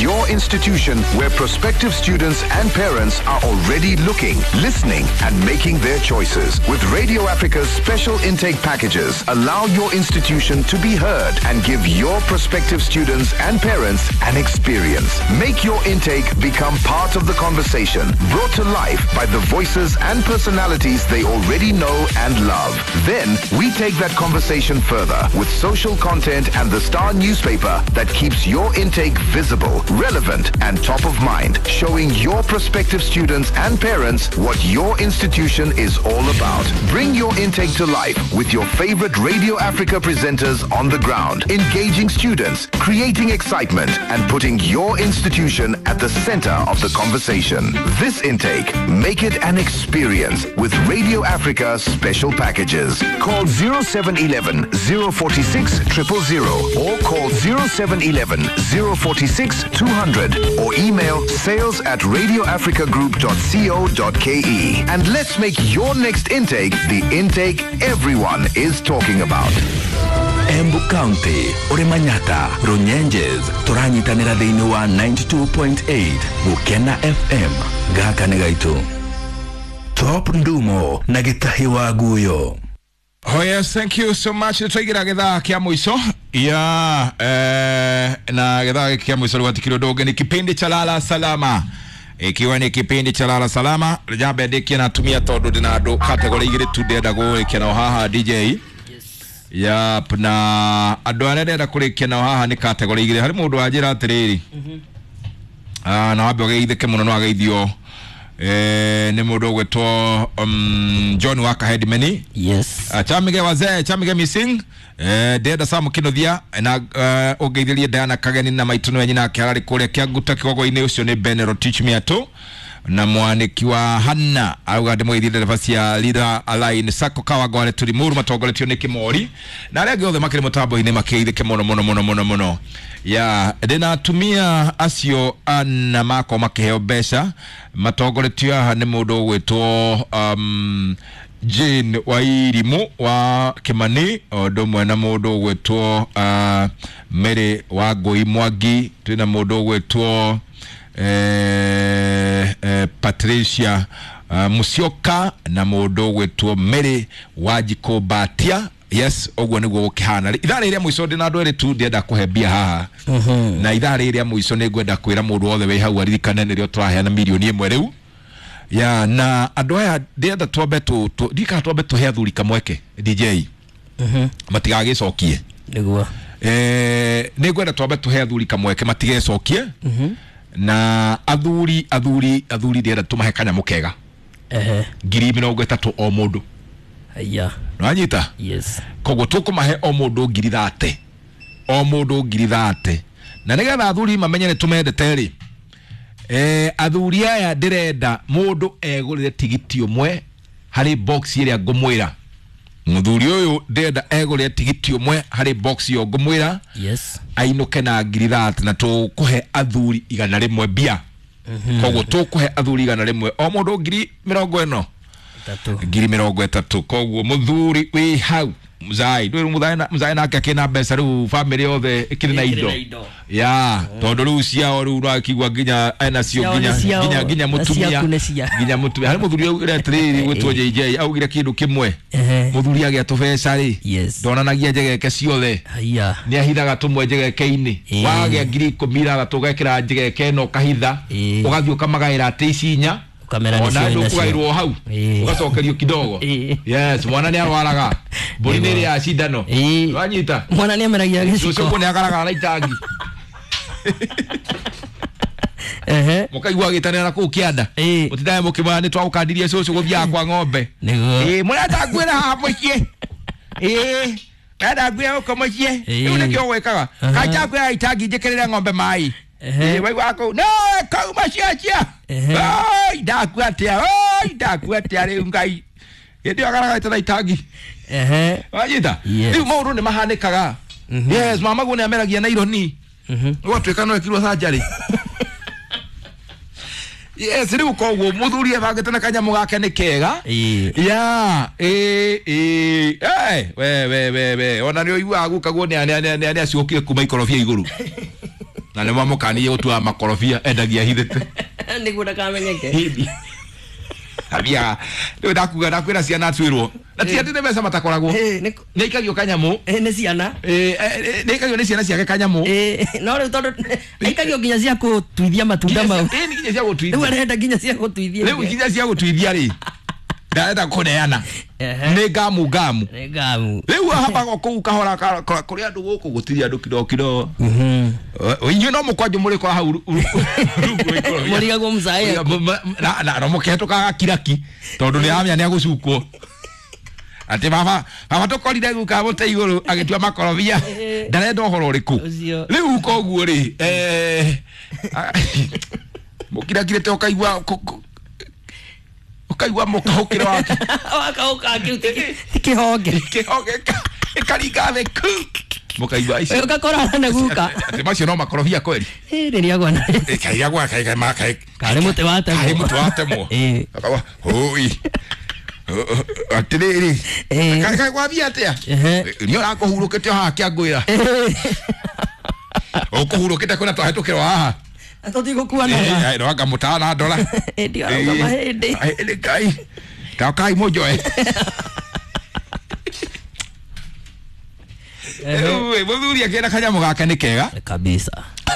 your institution where prospective students and parents are already looking, listening, and making their choices. With Radio Africa's special intake packages, allow your institution to be heard and give your prospective students and parents an experience. Make your intake become part of the conversation, brought to life by the voices and personalities they already know and love. Then we take that conversation further with social content and the Star newspaper that keeps your intake visible, relevant, and top of mind, showing your prospective students and parents what your institution is all about. Bring your intake to life with your favorite Radio Africa presenters on the ground, engaging students, creating excitement, and putting your institution at the center of the conversation. This intake, make it an experience with Radio Africa special packages. Call 0711 046 000 or call 0711 046 200 or email sales at radioafricagroup.co.ke. And let's make your next intake the intake everyone is talking about. Embu County, Uri Manyata, Runyenjes, turanyitanĩra thĩinĩ wa 92.8 Gũkena FM. Gaka nĩ gaitũ. Top Ndumo na Gĩtahi wa Guyo. Oh yes, thank you so much. Twaigĩra gĩthaa kĩa mũico ya na gĩthaa gĩkĩ kĩa mũico rĩu hatikĩrĩ ũndũ ũngĩ, nĩ kipindi cha Lala Salama, ikiwa ni kipindi cha Lala Salama. Jambe ndikie na atumia tondũ ndĩna andũ category igĩrĩ tu ndĩrenda gũrĩkia nao haha, DJ. Yap, na andũ arĩa ndĩrenda kũrĩkia nao haha nĩ category igĩrĩ. Harĩ mũndũ wanjĩra atĩrĩrĩ, na wambe ũgeithĩke mũno, no ageithio nĩ mũndũ ũgwĩtwo John Waka Headmeni. Chamige wazee, chamige missing, ndĩrenda Sam Kinuthia na ũngeithĩrie Diana Kageni na maitũ nĩwe nyina ake ararĩ kũrĩa Kĩanguta Kĩgogo-inĩ. Ũcio nĩ Ben Rotich Miatũ na mwanĩki wa Hanna auga ndĩmũgeithie ndereba cia Leader Align Sacco Kawangware Turimuru matongoretio nĩ Kĩmori na arĩa angĩ othe makĩrĩ mũtambo-inĩ makĩgeithĩke mũno mũno mũno mũno mũno. Ya ndĩna atumia acio ana makorwo makĩheo mbeca matongoretio haha nĩ mũndũ ũgwĩtwo Jane Wairimu wa Kimani, o ũndũ ũmwe na mũndũ ũgwĩtwo Mary wa Ngũi Mwangi. Twĩna mũndũ ũgwĩtwo Patricia Musyoka na mũndũ ũgwĩtwo Mary Wanjikũ Mbatia. Yes, ũguo nĩguo gũkĩhana. Ithaa rĩrĩa mũico ndĩna andũ erĩ tu ndĩrenda kũhe mbia haha, na ithaa rĩrĩa mũico nĩ ngwenda kwĩra mũndũ wothe wĩ hau aririkane nĩrĩo tũraheana 1 million rĩu ya. Na andũ aya ndĩrenda twambe ndikana twambe tũhe athuri kamweke, DJ, matigagĩcokie. Nĩguo. Nĩ ngwenda twambe tũhe athuri kamweke matigecokie. Na athuri, athuri, athuri, ndĩrenda tũmahe kanyamũ kega, 30,000 o mũndũ. Haya. Nĩwanyita? Yes. Koguo tũkũmahe o mũndũ 30,000, o mũndũ 30,000, na nĩgetha athuri mamenye nĩ tũmendete rĩ, athuri aya ndĩrenda mũndũ egũrĩre tigiti ũmwe harĩ box ĩrĩa ngũmwĩra. Mũthuri ũyũ ndĩrenda egũrĩre tigiti ũmwe harĩ box ĩyo ngũmwĩra, ainũke na 30,000, na tũkũhe athuri 100 mbia. Koguo tũkũhe athuri 100, o mũndũ ngiri mĩrongo ĩno 30. 30,000. Koguo mũthuri wĩ hau mzai ndwĩ mzai nake akĩna mbeca rĩu, family yothe ĩkĩrĩ na indo. Indo. Ya tondũ rĩu ciao rĩu nakigua nginya enacio Ciao nginya nĩ ciao, nginya na mũtumia ciaku nĩ cia. Nginya mũtumia. Harĩ mũthuri augire atĩrĩrĩ gwĩtwo JJ, augire kĩndũ kĩmwe: mũthuri agĩa tũbeca rĩ, ndonanagia njegeke ciothe. Haya. Nĩ ahithaga tũmwe njegeke-inĩ. Wagĩa 16,000 ũgekĩra njegeke ĩno ũkahitha, ũgathiĩ ũkamagaĩra atĩ ici inya. Ũkamera nĩcio Ona wĩnacio. ndũkũgaĩrwo hau, ũgacokerio kidogo. Yes, mwana nĩ arwaraga, mbũri nĩ ĩrĩaga cindano. Wanyita? Mwana nĩ ameragia Rũciũ gĩciko. nĩ agaragara na itangi. Mũkaigua agĩtanĩra na kũu kĩanda, mũtindae mũkĩmwĩra nĩ twagũkandirie cũcũ gũthiaga kwa ng'ombe. Nĩguo. Ĩĩ, mũrenda nguĩra haha mũciĩ? Ĩĩ, mũrenda nguĩra gũkũ mũciĩ? Rĩu nĩkĩo gwĩkaga kanja nguĩra itangi njĩkĩrĩre ng'ombe maĩ. Ĩĩ, waigua kũu no kau maciacia. Oi, ndakua atĩa? Oi, ndakua atĩa rĩu? Ngai, hĩndĩ ĩyo agaragarĩte na itangi. Wanyita? Yes. Rĩu maũndũ nĩ mahanĩkaga. Yes, mamaguo nĩ ameragia na ironi, ũgatuĩka no ĩkirwo sanjarĩ. Yes, rĩu koguo mũthuri ebangĩte na kanyamũ gake nĩ kega. Ya ĩ ĩ eh we we we we ona nĩ ũiguaga gukaguo nĩ aciũkire kuma ikorobia igũrũ. Na nĩ mamũkanirie gũtua makorobia endagia hithĩte. Nĩguo ndakamenyeke. Hithi athiaga rĩu ndakuga ndakwĩra ciana atuĩrwo na ti atĩ nĩ mbeca matakoragwo. Nĩ nĩ aikagio kanyamũ. Nĩ ciana. Nĩ aikagio nĩ ciana ciake kanyamũ. No rĩu tondũ aikagio nginya cia kũtuithia matunda mau. Nginya cia Rĩu gũtuithia. Arenda nginya cia gũtuithia. Rĩu nginya cia gũtuithia rĩ ndarenda kũneana. Nĩ ngamu ngamu. Nĩ ngamu. Rĩu habaga kũu kahora kũrĩ andũ gũkũ gũtirĩ andũ kidogo kidogo. Inyuĩ no mũkwanjũ mũrĩkora hau rungu rwa ikorobia. Mũrigagwo mzae. Na no mũkĩhetũkaga kiraki tondũ nĩ aramenya nĩ agũcukwo atĩ baba baba tũkorire guka mũtĩ igũrũ agĩtua makorobia ndarenda ũhoro ũrĩkũ. Ũcio. Rĩu koguo rĩ mũkirakirĩte ũkaigua ũkaigua mũkahũkĩro wake. Wakauka kĩu ti kĩhonge. Kĩhonge ĩkaringa thĩ ku mũkaigua ici. Ũgakorana na guka. Atĩ macio no makorobia kweri. Rĩrĩa gwana. Ĩkaigagwa Karĩ mũtĩ watemwo. Karĩ mũtĩ watemwo. Akawa hũi atĩrĩrĩ kaĩ gwathiĩ atĩa nĩ ũrakũhurũkĩte o haha kĩangwĩra ũkũhurũkĩte kwĩna twahĩtũkĩrwo haha. Tũtigũkuanaga. No anga mũtana ndora. Hĩndĩ arauga mahĩndĩ. Hĩndĩ Ngai taokai mũnjoe. Rĩu mũthuri akĩenda kanyamũ gake nĩ kega kabisa.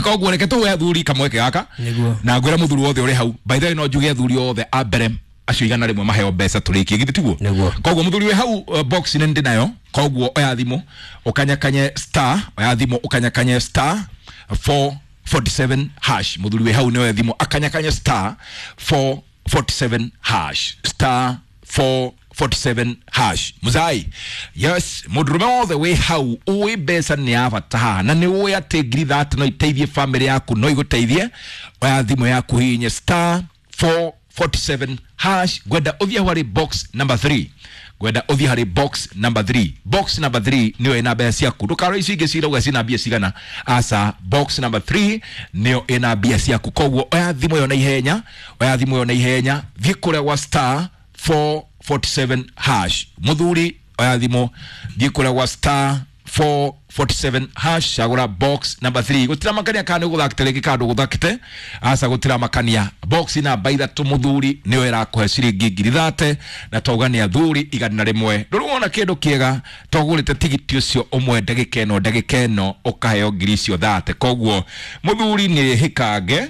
Koguo reke tũhe athuri kamweke gaka. Nĩguo. Na ngwĩra mũthuri wothe ũrĩ hau, by the way, no njuge athuri othe a mbere acio 100 maheo mbeca tũrĩkie githĩ tiguo? Nĩguo. Koguo mũthuri wĩ hau box nĩ ndĩ nayo koguo oya thimũ ũkanyakanye star oya thimũ ũkanyakanye star 447 hash. Mũthuri wĩ hau nĩ oya thimũ akanyakanye star 447 hash star 447 hash. Muzai yes mũndũrũme wothe wĩ hau ũĩ mbeca nĩ ya bata haha na nĩ ũĩ atĩ ngiri thate no iteithie famĩlĩ yaku no igũteithie oya thimũ yaku hihinye star 447 hash. Ngwenda ũthiĩ harĩ box number 3 ngwenda ũthiĩ harĩ box number 3 box number 3 nĩyo ĩna mbia ciaku ndũkarore icio ingĩ cirauga cina mbia cigana aca box number 3 nĩyo ĩna mbia ciaku koguo oya thimũ ĩyo na ihenya oya thimũ ĩyo na ihenya thiĩ kũrĩa gwa star 447 hash. Mũthuri oya thimũ thiĩ kũrĩa gwa star 447 hash cagũra box number 3 gũtiramakania kana nĩ ũgũthakĩte rĩngĩ kana ndũgũthakĩte aca gũtiramakania box namba 3 mũthuri nĩyo ĩrakũhe ciringi 30,000 na twauga nĩ athuri 100 ndũrĩ wona kĩndũ kĩega togũrĩte tigiti ũcio ũmwe ndagĩka ĩno ndagĩka ĩno ũkaheo ngiri icio 30 koguo mũthuri nĩ hĩkange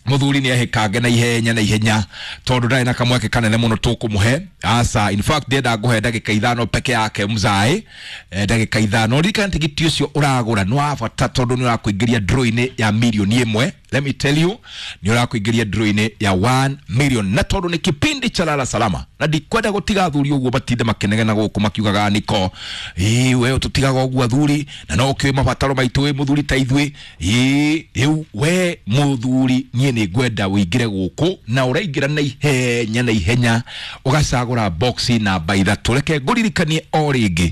mũthuri nĩ ehĩkange na ihenya na ihenya tondũ ndarĩ na kamweke kanene mũno tũkũmũhe aca in fact ndĩrenda ngũhe ndagĩka 5 peke yake mzae ndagĩka 5 ririkana tigiti ũcio ũragũra nĩ wa bata tondũ nĩ ũrakũingĩria draw-inĩ ya mirioni 1. Let me tell you nĩ ũrakũingĩria draw-inĩ ya 1 million na tondũ nĩ kipindi cha lala salama na ndikwenda gũtiga athuri ũguo matinde makenegena gũkũ makiugaga niko ĩĩ we tũtigaga ũguo athuri na no ũkĩũĩ mabataro maitũ wĩ mũthuri ta ithuĩ ĩĩ rĩu we mũthuri niĩ nĩ ngwenda ũingĩre gũkũ na ũraingĩra na ihenya na ihenya ũgacagũra box namba 3 reke ngũririkanie o rĩngĩ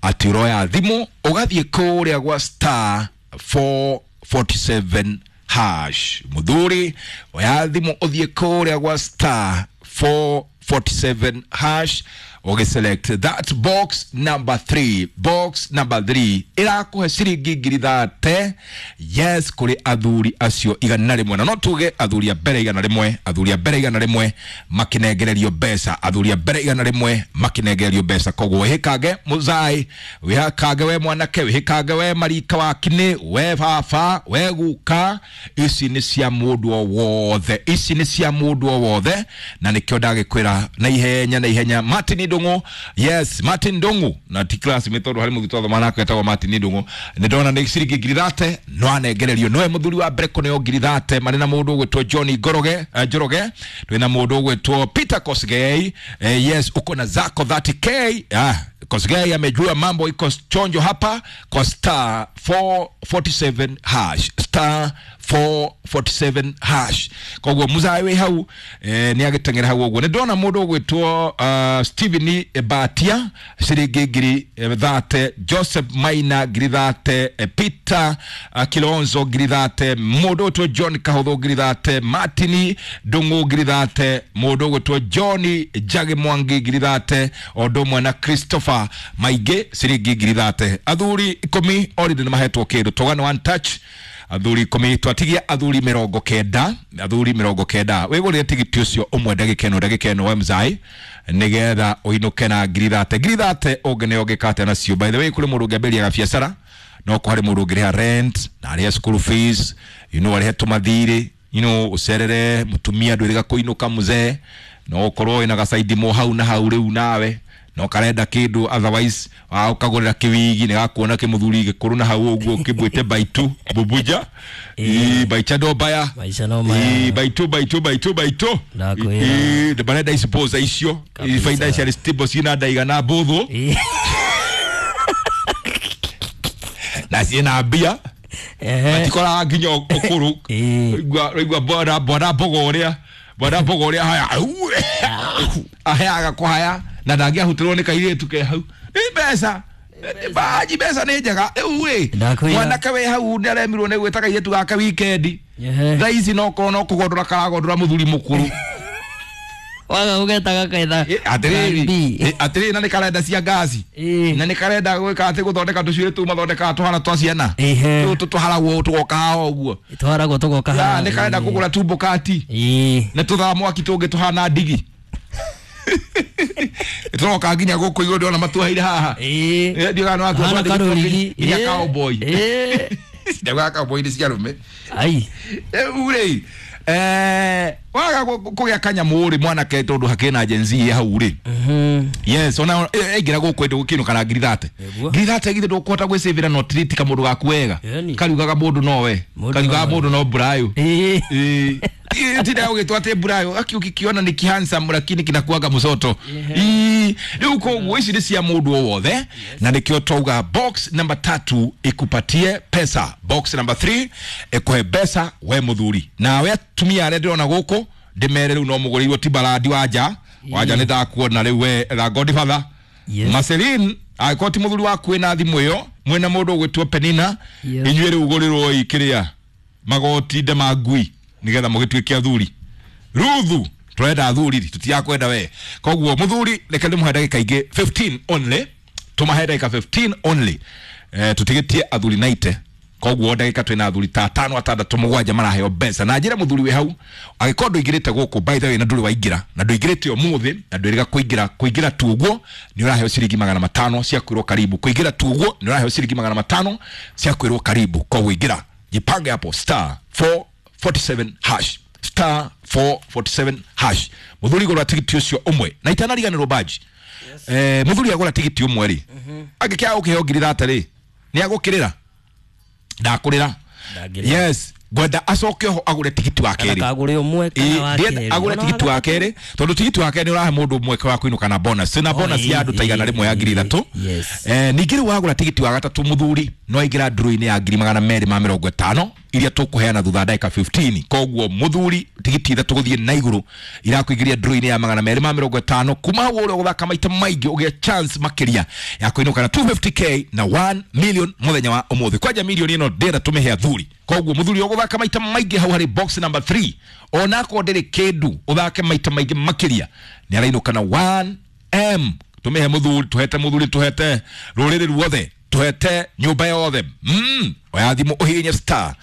atĩ ũroya thimũ ũgathiĩ kũrĩa gwa star 447 hash. Mũthuri oya thimũ ũthiĩ kũrĩa gwa star 447 hash ũgĩselect that box number 3 box number 3 ĩrakũhe ciringi 30,000 yes kũrĩ athuri acio 100 na no tuge athuri a mbere 100 athuri a mbere 100 makĩnengererio mbeca athuri a mbere 100 makĩnengererio mbeca koguo wĩhĩkange mũzai wĩhakange we mwanake wĩhĩkange we marika wa kinĩ we baba we guka ici nĩ cia mũndũ o wothe ici nĩ cia mũndũ o wothe na nĩkĩo ndagĩkwĩra na ihenya na ihenya. Martin Ndung'u yes Martin Ndung'u na ti classmate tondũ harĩ mũthuri twathoma nake etagwo Martin Ndung'u nĩ ndona nĩ ciringi 30,000 no anengererio nowe mũthuri wa mbere kũneo 30,000 marĩ na mũndũ ũgwĩtwo John Ngoroge Njoroge twĩna mũndũ ũgwĩtwo Peter Kosgei yes uko na zako 30k Kosgei amejua mambo iko chonjo hapa kwa star 447 hash star 447 hash koguo muzae wĩ hau nĩ agĩteng'era hau ũguo nĩ ndona mũndũ ũgwĩtwo Steven Batia ciringi 30,000 Joseph Maina 30,000 Peter Kilonzo 30,000 mũndũ ũgwĩtwo John Kahũthũ 30,000 Martin Ndung'u 30,000 mũndũ ũgwĩtwo John Njagi Mwangi 30,000 o ũndũ ũmwe na Christopher Maingĩ ciringi 30,000 athuri 10 already nĩ mahetwo kĩndũ tũgane one touch Athuri 10 twatigia athuri 90 athuri 90 wigurire tigiti ucio umwe ndagika ĩno we mzai nigetha uinuke na ngiri thate ngiri thate ũngĩ ũngĩkate nacio. By the way kũrĩ mũndũ ũngĩambĩrĩria gabiacara no kũharĩ mũndũ ũngĩrĩha rent na arĩhe school fees, you know, arĩhe tũmathirĩ, you know, ũcerere mũtumia ndwĩrĩga kũinũka mzee no ũkorwo wĩna gacaidi mo hau na hau rĩu nawe no karenda kindu otherwise ukagurira kiwigi ni gakuona kimuthuri gikuru na hau uguo kibwite baitu bubuja i baicha do baya Maisha no maya. i baitu baitu baitu baitu Ndakwĩra. I barenda isipoza icio i financial stable cina ndaigana mbuthu na ciina mbia matikoraga nginya ukuru igua bwana bwana mbogo uria bwana mbogo uria haya aheaga kuhaya na ndangĩahutirwo nĩ kairĩtu ke hau nĩ mbeca baji mbeca nĩ njega rĩu ĩ mwanake wĩ hau nĩ aremirwo nĩ gwĩta kairĩtu gake wikendi thaa ici no korwo no kũgondora karagondora mũthuri mũkũrũ waga ũgetaga kaitha atĩrĩrĩ atĩrĩrĩ na nĩ karenda cia ngaci na nĩ karenda gwĩka atĩ gũthondeka tũcuĩrĩ tũu mathondekaga tũhana twa ciana tũtũ tũharagwo tũgoka haha ũguo tũharagwo tũgoka haha nĩ karenda kũgũra tumbo kati na tũthaa mwaki tũngĩ tũhana ndigi tũroka nginya gũkũ igũrũ ndĩrona matuoheire haha ndiũĩ kana nĩwatua nginya cowboy ndaugaga cowboy nĩ cia arũme rĩu rĩ waga kũgĩa kanyamũ rĩ mwanake tondũ hakĩrĩ na Gen Z hau rĩ yes ona aingĩra gũkũ ĩndũ gũkĩinũka na ngiri thate ngiri thate githĩ ndũkũhota gwĩcĩvĩra no treat kamũndũ gaku wega kariugaga mũndũ nowe kariugaga mũndũ no burayo tinda ũgĩtwo atĩ burayo aki ũkĩkiona nĩ kihandsome lakini kinakuaga mũcoto rĩu koguo ici nĩ cia mũndũ o wothe na nĩkĩo twauga box number 3 ikupatie pesa box number 3 ĩkũhe mbeca we mũthuri nawe atumia arĩa ndĩrona gũkũ ndĩmere rĩu no mũgũrĩirwo timbalandi wanja wanja nĩ ndakuona rĩu we tha Godfather Marceline angĩkorwo ti mũthuri waku wĩna thimũ ĩyo mwĩna mũndũ ũgwĩtwo Penina inyuĩ rĩu gũrĩrwo kĩrĩa magoti nde ma ngui nigetha mũgĩtuĩke athuri Ruthu tũrenda athuri tũtirakwenda we koguo mũthuri reke ndĩmũhe ndagĩka ingĩ 15 only tũmahe ndagĩka 15 only tũtigĩtie athuri 90 koguo ndagĩka twĩna athuri ta 5 6 7 maraheo mbeca na njĩra mũthuri wĩ hau angĩkorwo ndũingĩrĩte gũkũ by the way na ndũrĩ waingĩra na ndũingĩrĩte ũmũthĩ na ndwĩrĩga kũingĩra kũingĩra tu ũguo nĩ ũraheo ciringi 500 cia kwĩrwo karibu kũingĩra tu ũguo nĩ ũraheo ciringi 500 cia kwĩrwo karibu koguo ingĩra jipange hapo star 447 hash star 447 hash muthuri gura tigiti ucio umwe na itanariganirwo baji muthuri agura tigiti umwe ri angĩkĩaga gũkĩheo ngiri thate ri nĩ agũkĩrĩra ndakurira yes ngwenda acoke ho agure tigiti wa keri agure umwe kana wa keri agure tigiti wa keri tondu tigiti wa keri urahe mundu mweke wa kuinuka na bonus na bonus ya andu ta 100 ya ngiri 3 ningĩ rĩu wagũra tigiti wa gatatu muthuri no aingĩra nduru-inĩ ya ngiri 250 iria tũkũheana thutha ndagĩka 15 koguo muthuri tigiti ithatũ gũthiĩ na igũrũ irakuingĩria nduru-inĩ ya 250 kuma hau ũrĩa ũgũthaka maita maingĩ ũgĩe chance makĩria ya kũinũka na 250k na 1 million mũthenya wa ũmũthĩ kwanja milioni ĩno ndĩrenda tũmĩhe athuri koguo muthuri ũgũthaka maita maingĩ hau harĩ box number 3 onakorwo ndĩrĩ kĩndũ ũthake maita maingĩ makĩria nĩ arainũka na 1m tũmĩhe muthuri tũhete muthuri tũhete rũrĩrĩ ruothe tuhete nyumba yothe oya thimũ ũhihinye star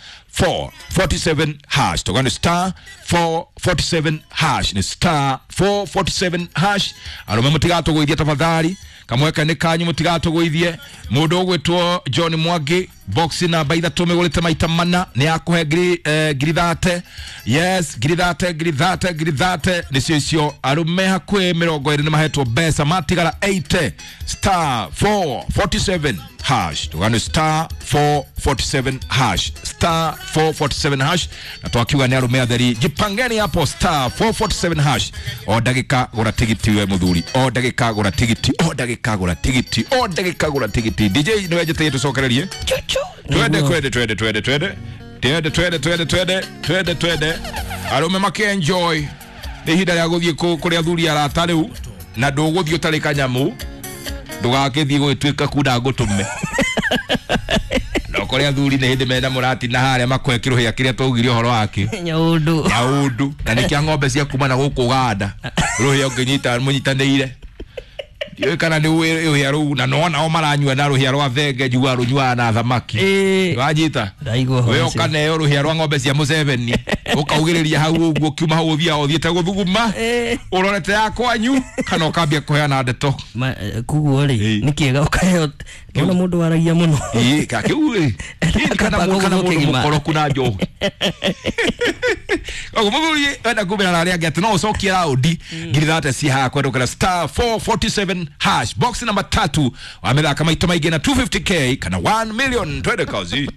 447 hash tũgane star 447 hash nĩ star 447 hash arũme mũtigatũgũithie tafadhali kamweke nĩ kanyu mũtigatũgũithie mũndũ ũgwĩtwo John Mwangi box namba 3 mĩgũrĩte maita mana nĩ akũhe ngiri thate yes ngiri thate ngiri thate ngiri thate nĩcio icio arũme hakuhĩ 20 nĩ mahetwo mbeca matigara 80 star 447 hash tũgane star 447 hash star 447 hash na twakiuga nĩ arũme atheri jipangeni hapo star 447 hash o ndagĩka gũra tigiti we mũthuri o ndagĩka gũra tigiti o ndagĩka gũra tigiti o ndagĩka gũra tigiti DJ nĩwe njĩtĩie tũcokererie twende twende twende twende twende twende twende twende twende twende twende arũme makĩ enjoy nĩ ihinda rĩa gũthiĩ kũrĩ athuri arata rĩu na ndũgũthiĩ ũtarĩ kanyamũ ndũgakĩthiĩ gũgĩtuĩka kunda ngũtũme no kũrĩ athuri nĩ hĩndĩ mena mũrati na harĩa makũhe kĩrũhĩa kĩrĩa twaugire ũhoro wake nyaũndũ nyaũndũ na nĩ kĩa ng'ombe cia kuma na gũkũ Uganda rũhĩa ũngĩnyita mũnyitanĩire Ndiũĩ kana nĩ ũĩ rũhĩa rũu na no nao maranyua na rũhĩa rwa thenge njiguaga rũnyuaga na thamaki. Ĩĩ. Wanyita? Ndaigua ũhoro We ũcio. ũkaneo rũhĩa rwa ng'ombe cia Museveni ũkaugĩrĩria hau ũguo ũkiuma hau ũthiaga ũthiĩte gũthuguma Ĩĩ. ũrorete ya kwanyu kana ũkambia kũheana ndeto. Koguo rĩ, Ĩĩ. nĩ kĩega ũkaheo ona mũndũ waragia mũno. Ĩĩ, ka kĩu ĩ. Ĩĩ, kana Kaba kana gũthũkia mũndũ kĩgima. mũkoroku na njohi. Koguo mũthuri wenda kumĩra na arĩa angĩ atĩ no ũcokie raundi 30,000 ci haha kwendũkĩra *447# box namba 3 wamĩthaka maita maingĩ na 250K kana 1 million. Twende kazi.